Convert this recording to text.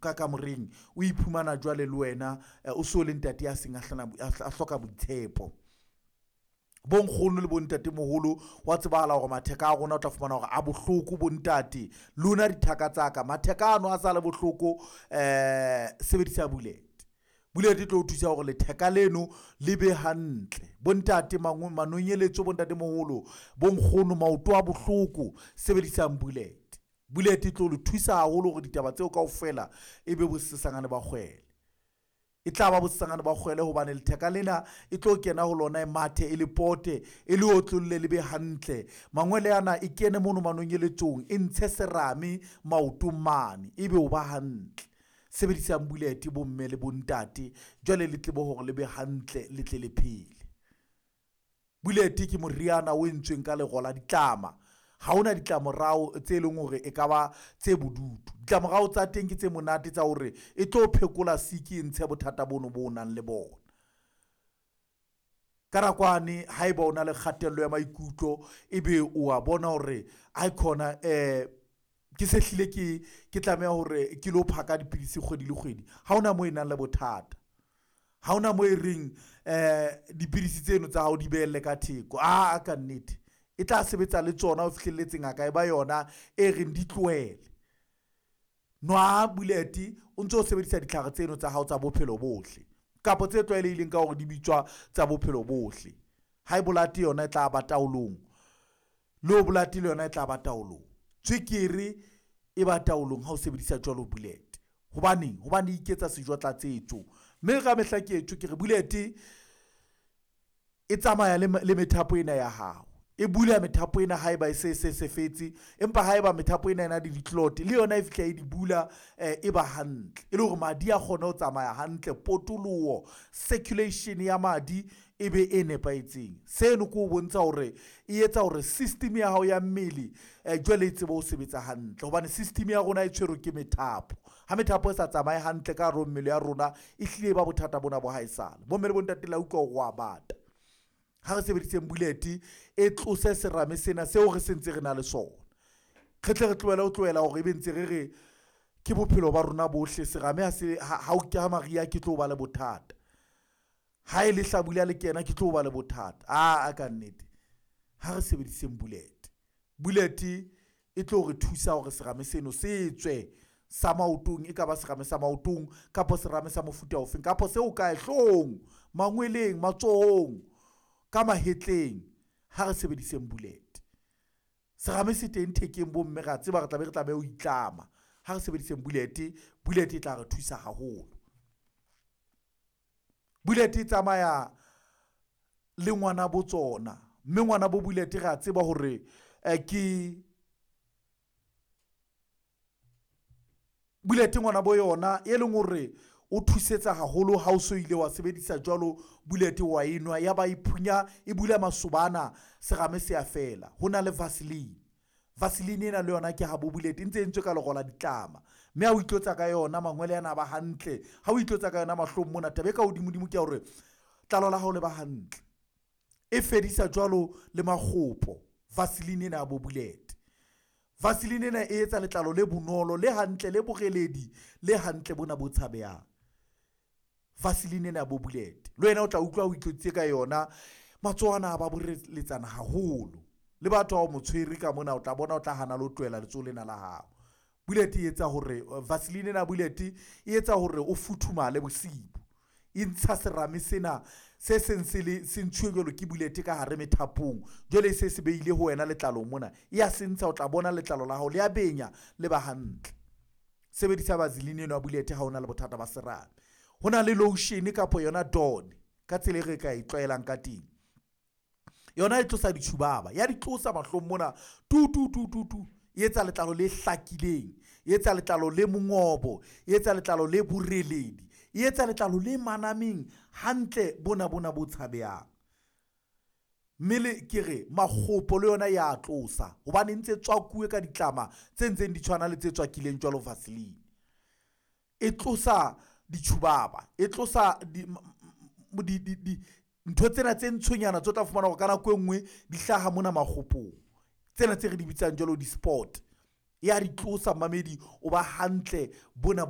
ka kamoreng, o iphumana jwale le wena o so le ntate ya seng a hloka boitshepo. Bonkgono le bontatemoholo wa tsebahala hore matheka a rona o tla fumana hore a bohloko. Bontate lona dithaka tsa ka, matheka ano a sa le bohloko, sebedisa bullet. Bullet e tlo o thusa hore letheka leno le be hantle. Bontate manonyeletso, bontatemoholo, bonkgono, maoto a bohloko, sebedisang bullet. Bullet e tlo le thusa haholo hore ditaba tseo kaofela e be bosesangane ba kgwele. E tla ba bosesangane ba kgwele hobane letheka lena e tlo kena ho lona, e mathe, e le pote, e le otlolle, le be hantle. Mangwele ana e kene mono manonyeletsong, e ntshe serame maotong mane, ebe o ba hantle. Sebedisang bullet bomme le bontate, jwale le tlebe hore le be hantle, le tle le phele. Bullet ke moriana o entsweng ka lero la ditlama. Ha hona ditlamorao tse leng hore e ka ba tse bodutu. Ditlamorao tsa teng ke tse monate tsa hore e tlo phekola siki, e ntshe bothata bono bo nang le bona. Ka nakwane haeba o na le kgatello ya maikutlo, ebe o a bona hore aikhona ke se hlile ke tlameha hore ke lo phaka dipidisi kgwedi le kgwedi, ha hona moo e nang le bothata. Ha hona moo e reng dipidisi tseno tsa hao di behelle ka theko. Aa, ka nnete e tla sebetsa le tsona ho fihlelletse ngaka e ba yona e reng di tlohele. Nwa bullet o ntso sebedisa ditlhare tseno tsa hao tsa bophelo bohle, kapa tse tlwaelehileng ka hore di bitswa tsa bophelo bohle. High blood yona e tla ba taolong, low blood le yona e tla ba taolong, tswekere e ba taolong ha o sebedisa jwalo bullet. Hobaneng? Hobane e iketsa sejo tlatsetso. Mme ka mehla ke etso ke re bullet e tsamaya le methapo ena ya hao. E bula methapo ena haeba e se se fetse, empa haeba methapo ena e na le di-clot le yona e fihla e di bula, e ba hantle, e le hore madi a kgone ho tsamaya hantle, potoloho, circulation ya madi e be e nepahetseng. Seno ke ho bontsha hore e etsa hore system ya hao ya mmele jwale e tsebe ho sebetsa hantle, hobane system ya rona e tshwerwe ke methapo. Ha methapo e sa tsamaye hantle ka hare ho mmele ya rona, e hlile e ba bothata bona bo haesale. Bomme le bontate, la utlwa hore wa bata. Ha re sebediseng bullet e tlose serame sena seo re sentse re na le sona. Re tle re tlohele ho tlohela hore ebe ntse re re ke bophelo ba rona bohle. Serame ha se ha o ka maria ke tlo ba le bothata. Ha e le hlabula le kena ke tlo ba le bothata. A ka nnete ha re sebediseng bullet. Bullet e tlo re thusa hore serame seno se tswe sa maotong, e ka ba serame sa maotong kapa serame sa mofuta ofeng, kapa seo kae hloohong, mangweleng, matsohong, ka mahetleng. Ha re sebediseng bullet. Serame se teng thekeng bomme, re a tseba re tlabe re tlameha ho itlama. Ha re sebediseng bullet. Bullet e tla re thusa haholo. Bullet e tsamaya le ngwana bo tsona, mme ngwana bo bullet re a tseba hore ke bullet ngwana bo yona e leng hore o thusetsa haholo ha o so ile wa sebedisa jwalo bullet wa enwa, ya ba e phunya e bula masobana, serame se a fela. Ho na le Vaseline. Vaseline ena le yona ke ha bo bullet e ntse e entswe ka lero la ditlama, mme ha o itlotsa ka yona mangwele ana a ba hantle. Ha o itlotsa ka yona mahlong mona, taba e ka hodimodimo ke ya hore tlalo la hao le ba hantle. E fedisa jwalo le makgopo Vaseline ena ya bo bullet. Vaseline ena e etsa letlalo le bonolo, le hantle, le boreledi, le hantle bona bo tshabehang. Vaseline ena ya bo bullet le wena o tla utlwa o itlotsitse ka yona, matsoho ana a ba boreletsana haholo. Le batho ha o mo tshwere ka mona, o tla bona o tla hana le ho tlohela letsoho lena la hao. Bullet e etsa hore Vaseline ena bullet e etsa hore o futhumale bosibu. E ntsha serame sena se seng se le se ntshuwe jwalo ke bullet ka hare methapong, jwale se se beile ho wena letlalong mona, e ya se ntsha, o tla bona letlalo la hao le a benya, le ba hantle. Sebedisa Vaseline eno ya bullet ha o na le bothata ba serame. Ho na le lotion kapa yona Dawn ka tsela e re ka e tlwaelang ka teng. Yona e tlosa ditjhubaba, ya di tlosa mahlong mona tu tu tu tu tu. E etsa letlalo le hlakileng, e etsa letlalo le mongobo, e etsa letlalo le boreledi, e etsa letlalo le manameng hantle bona bona bo tshabehang. Mme le ke re makgopo le yona ya tlosa, hobane ntse tswakuwe ka ditlama tse ntseng di tshwana le tse tswakileng jwalo Vaseline. E tlosa ditjhubaba, e tlosa ntho tsena tse ntshonyana tse o tla fumana hore ka nako e nngwe di hlaha mona makgopong, tsena tse re di bitsang jwalo di-spot. Ya di tlosa mmamedi, o ba hantle bona.